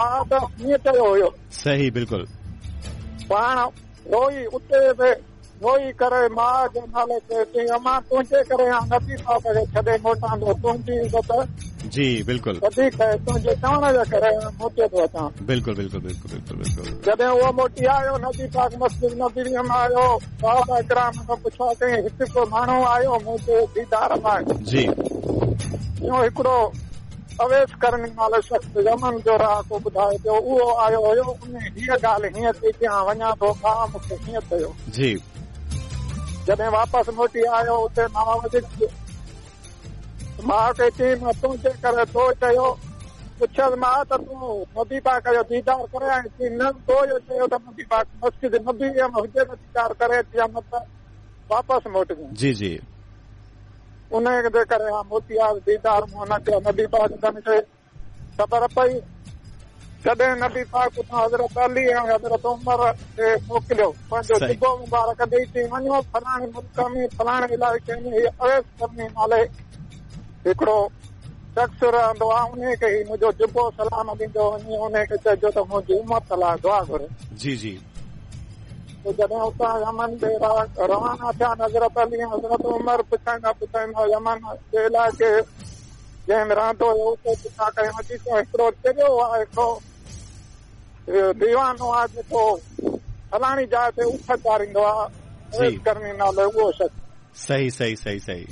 ماء ته ائين چيو هيو. صحيح بلڪل. پاڻ روئي اتي به روئي ڪري ماء جي نالي تي چيائين امان تنهنجي ڪري آئون نبي پاڪ کي ڇڏي موٽان ٿو تنهنجي عزت جي بلڪل. وڌيڪ آهي تنهنجي چوڻ جي ڪري آئون موٽي ٿو اچان. بلڪل بلڪل بلڪل بلڪل بلڪل. جڏهن اهو موٽي آيو نبي پاڪ مسجد نبوي ۾ آيو صحابه ڪرام کان پڇا ڪيائين هڪ ڪو ماڻهو آيو مون تي ديدار لاء. جي. اهو هڪڙو اويس قرني نالي شخص يمن جو رهاڪو ٻڌائي پيو، اهو آيو هيو، ان هيء ڳالهه هيئن ڪئي ته آئون وڃان ٿو، ڀاء مون کي هيئن چيو. جي. جڏهن واپس موٽي آيو، اتي ماء وٽ ماء کي چيائين، مان تنهنجي ڪري تو چيو. پڇيس ماء ته تون نبي پاڪ جو ديدار ڪري آئين؟ چيائين، نه، تو اهو چيو ته نبي پاڪ مسجد نبويء ۾ هجي ته ديدار ڪري اچجان نه ته واپس موٽجان. جي جي. انهيء جي ڪري آء موٽي آيس، ديدار مون نه ڪيو، نبي پاڪ جن کي خبر پئي، جڏهن نبي پاڪ اتان حضرت علي ۽ حضرت عمر کي موڪليو، پنهنجو جبو مبارڪ ڏئي چيائين، وڃو فلاڻي ملڪ ۾ فلاڻي علائقي ۾ هي اويس قرني نالي هڪڙو شخص رهندو آهي، انهيء کي هي منهنجو جبو سلام ڏيندو وڃي، انهيء کي چئجو ته منهنجي امت لاء دعا گهري. جي جي. پوء جڏهن اتان يمن ڏي روانا ٿيا ته حضرت علي ۽ حضرت عمر پڇائيندا پڇائيندا يمن جي علائقي جنهن ۾ رهندو هيو اتي پڇا ڪيائون اچي ته هڪڙو چريو آهي هڪڙو ديوانو آهي جيڪو فلاڻي جاء تي اٺ چاريندو آهي اويس قرني نالي اهو شخص. صحيح صحيح صحيح صحيح.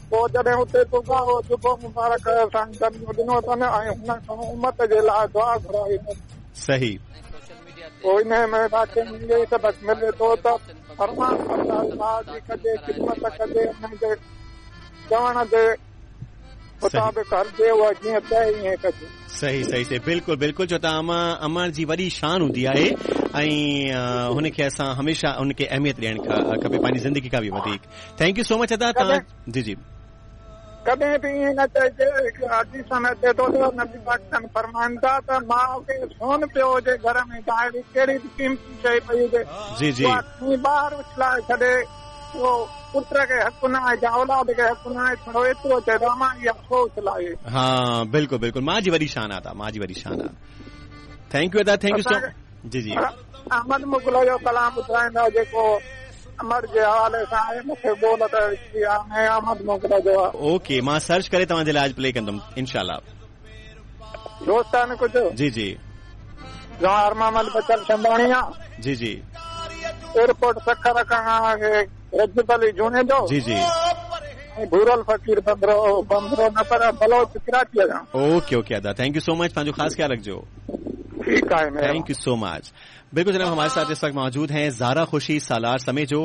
پوء جڏهن اتي پڳا اهو جبو مبارڪ سائين جن ڏنو اٿن ۽ هن کان امت جي لاء دعا گهرائي اٿن. صحيح. پوء انهيء ۾ واقعي ۾ اهو ئي سبق ملي ٿو ته فرمانبرداري ماء جي ڪجي، خدمت ڪجي، انهن جي چوڻ جي مطابق هلجي، اها جيئن چئي ائين ڪجي. صحيح صحيح صحيح بلڪل بلڪل ڇو ته اما امڙ جي وڏي شان هوندي آهي ۽ هن کي اسان هميشه هن کي اهميت ڏيڻ کپي پنهنجي زندگي کان به وڌيڪ thank you سو مچ ادا توهان جي جي. ڪڏهن به ائين نه چئجي، هڪ حديث ۾ اچي ٿو ته نبي پاڪ جن فرمائن ٿا ته ماء کي سون پيو هجي گهر ۾ يا اهڙي ڪهڙي به قيمتي شيء پئي هجي جي جي. اها کڻي ٻاهر اڇلائي ڇڏي اهو پٽ کي حق نه آهي يا اولاد کي حق نه آهي ڇڙو ايترو چئي ته امان اها ڇو اڇلائي. ها بلڪل بلڪل ماء جي وڏي شان آ ادا ماء جي وڏي شان آ thank you ادا thank you سو جي جي. احمد مغل جو ڪلام ٻڌائيندا جيڪو امڙ جي حوالي سان آهي مون کي ٻول ته اچي ويا ۽ احمد مغل جو آ. اوڪي مان سرچ ڪري توهان جي لاء اڄ پلي ڪندم انشاء الله. دوست آهن ڪجهه. جي جي. جوهر محمد بچل شنباڻي آ. جي جي. ايئرپورٽ سکر کان رجب علي جوڻيجو. جي جي. ۽ ڀورل فقير ڀنڀرو ڀنڀرو نه پر بلوچ ڪراچيء کان. اوڪي اوڪي ادا thank you سو مچ پنهنجو خاص خيال رکجو. ٺيڪ آهي مهرباني. Thank you سو مچ. बिल्कुल जनाब हमारे साथ इस वक्त मौजूद हैं ज़ारा खुशी सालार समेजो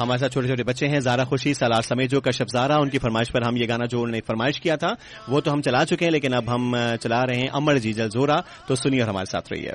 हमारे साथ छोटे छोटे बच्चे हैं ज़ारा खुशी सालार समेजो कश्यप ज़ारा उनकी फरमाइश पर हम ये गाना जो उन्होंने फरमाइश किया था वो तो हम चला चुके हैं लेकिन अब हम चला रहे हैं अमर जी जलजोरा तो सुनिए और हमारे साथ रहिए।